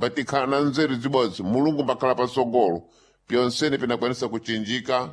Mbatikhala na nzeru zibodzi, Mulungu mbakhala pasogolo, pyonsene pinakwanisa kuchinjika,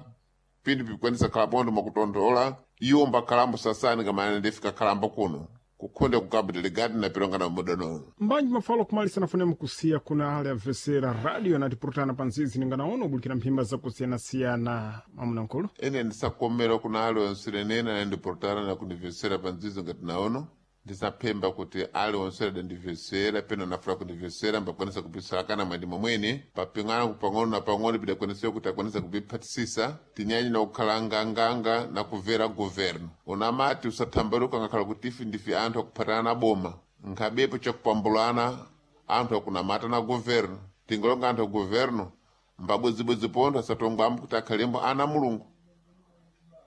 pinthu pikwanisa khala pontho mwakutonthola, iwo mbakhalambo sasani kamene ndifika khalambo kuno. Kukhonda ku Cabo Delgado na pilongana mudanono. Mbanji mafalo kumalisa nafune mukusiya kuna ale avesera radio natipurutana pa nzizi ninganaona ubulikira mphimba zakusiyanasiyana mamuna nkulu. Ene ndisakomera kuna ali onse nene anandiportana na kundivesera pa nzizo ngati naono. Ndisaphemba kuti ali onse adandivesera pena nafuna kundivesera mbakwanisa kupisalakana mwandi momwene paping'ana pang'ono na pang'ono pidakwanisira kuti akwanisa kupiphatisisa tinyanyi na kukhala nganganga na kumvera governo. Unamati usathambaluka ngakhala kuti ife ndife anthu akuphatana na boma nkhabepo chakupambulana anthu akunamata na governo tingolonga anthu a governo mbabwedzibwedzi pontho asatongwambo kuti akhalembo ana Mulungu.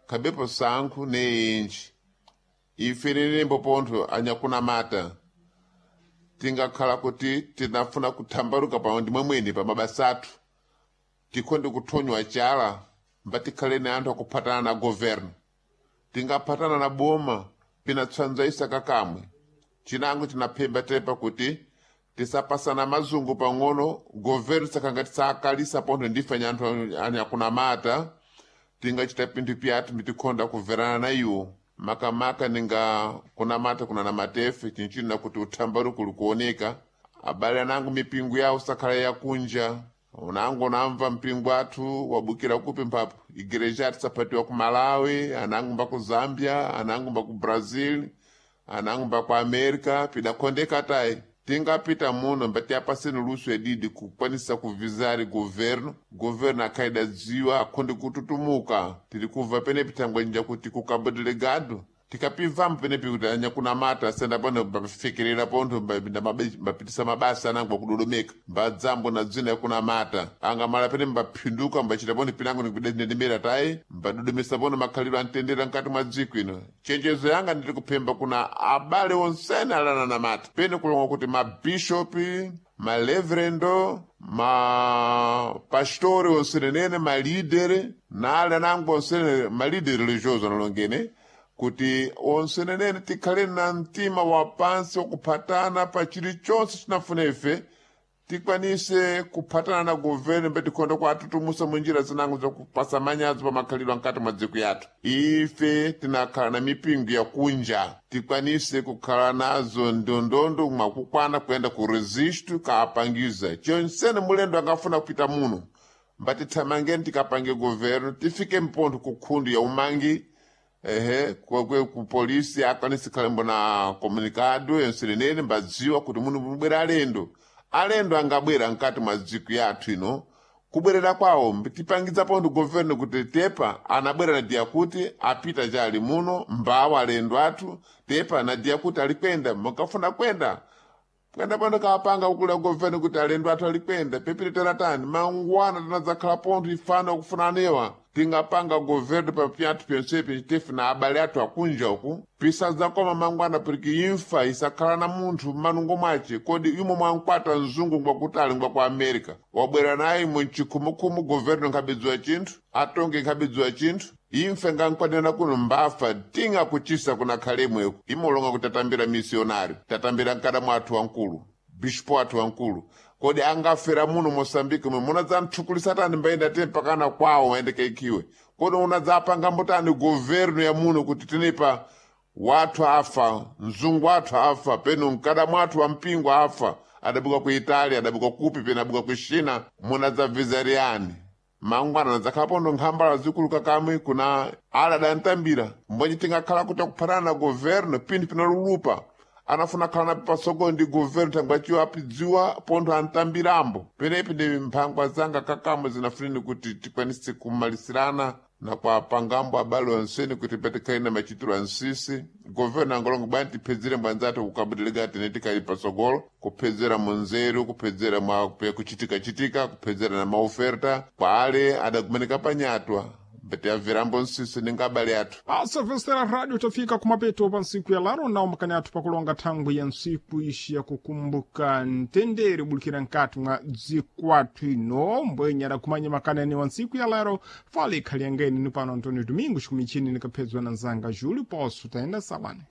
Khabepo sankhu neenji ife nenembo pontho anyakunamata tingakhala kuti tinafuna kuthambaluka pamwe ndi mwemwene pa mabasa athu tikhonde kuthonywa chala mbatikhale ni anthu akuphatana na governo. Tingaphatana na boma pinatswanzaisa kakamwe. Chinango chinaphemba tepa kuti tisapasana mazungu pang'ono governo sakangati sakalisa pontho ndife anthu anyakunamata tingachita pinthu pyathu mbitikhonda kuverana na iwo. Makamaka ninga kunamata kunanamatefe chinchino nakuti uthambaluko ulikuoneka. Abale anangu mipingo yawo sakhala yakunja. Unangu unamva mpingo athu wabukira kupi mphapo igereja athu saphatiwa ku Malawi, anangu mba ku Zambia, anangu mba ku Brazil, anangu mba ku America, pidakhondeka tayi. Tingapita muno mbati apaseni luso edidi kukwanisa kuvizari governo, governo akhaida dziwa akhonde kututumuka. Tiri kubva penepi thangwenja kuti ku Cabo Delgado tikapivambo penepi kuti anyakunamata asenda pano mbafikerera pontho mbapitisa mabasa anango akudodomeka mbadzambo na dzina yakunamata angamala pene mbaphinduka mbachita pontho pinango nikudendemera tayi mbadodomesa pontho makhalidwe amtendere mkati mwa dziko ino. Chenjezo yanga ndiri kuphemba kuna abale onsene alananamata pene kulonga kuti mabishopi, maleverendo, mapastori onsenenene, malidere na ale anango onsene malidere religioso analongene kuti onsenenene tikhale na mtima wa pansi wakuphatana pa chilichonse chinafuna ife tikwanise kuphatana na governo mbe tikhonda kuatutumusa munjira zinango zakupasa manyazi pa makhalidwe ankati mwa dziko yathu. Ife tinakhala na mipingo yakunja tikwanise kukhala nazo ndondondo mwakukwana kuyenda ku registro kaapangiza chonsene mulendo angafuna kupita muno mbatithamangeni tikapange governo tifike mpontho ku khundu ya umangi ehe kwakwe ku polisi akwanise khalembo na comunicado yonsenenene mbadziwa kuti muno mubwera alendo. Alendo angabwera mkati mwa dziko yathu ino kubwerera kwawo tipangiza pontho governo kuti tepa anabwera na diya kuti apita chali muno mbawo alendo athu tepa na diya kuti alikwenda mukafuna kwenda kwenda pontho kapanga kukula governo kuti alendo athu alikwenda pepiri teratani mangwana tinadzakhala pontho ifana okufunanewa tingapanga governo pa pyathu pyonsepi tife na abale athu akunja uku pisadzakoma mangwana piriki imfa isakhala na munthu mmanungo mwace. Kodi imo mwankwata mzungu ngwakutali ngwa ku America wabwera naye munchikhumukhumu governo nkhabedziwa chinthu atonge nkhabedziwa chinthu imfa ngankwanena kuno mbafa tingakuchisa kuna khalemweko imolonga kuti tatambira misionari tatambira mkada mwathu wankulu bishopu wathu wankulu kodi angafera muno Mosambike mwe munadzamthukulisa tani mbayenda te mpakana kwawo ayendekeikiwe kodi unadzapanga mbotani governo ya muno kuti tinepa wathu afa mzungu wathu afa peno mkada mwathu wa mpingo afa adabuka ku Italia adabuka kupi peno adabuka ku China munadzabvizariyani mangwana nadzakhala pondo nkhambala zikuluka kamwe kuna ala adantambira mbonye tingakhala kuti akuphatana na governo pinthu pinalulupa anafuna khala na pasogolo ndi governo thangwaciwo apidziwa pontho antambirambo penepi ndi mphangwa zanga kakamwe zinafuneni kuti tikwanise kumalisirana na kwa pangambo abale onsene kuti patikhale na machitiro ansisi governo angolongo bwanji tiphedzere mbwanzathu ku Cabo Delgado tene tikhali pasogolo kuphedzera munzeru kuphedzera mwa kuchitikachitika kuphedzera na maoferta kwa ale adakumeneka panyatwa mbatiabverambo nsisi ninga abale athu. Asavesera radio tafika kumapeto pa ntsiku ya laro nawo makani athu pakulonga thangwi ya ntsiku ixi yakukumbuka mtendere ubulikira nkati mwa dziko athu ino mbwenya adakumanya makani anewa ntsiku ya lero fala ikhali yangeni ni pano Antônio Domingos kumichini nikaphedzwa na nzanga Júlio Poço tayenda salani.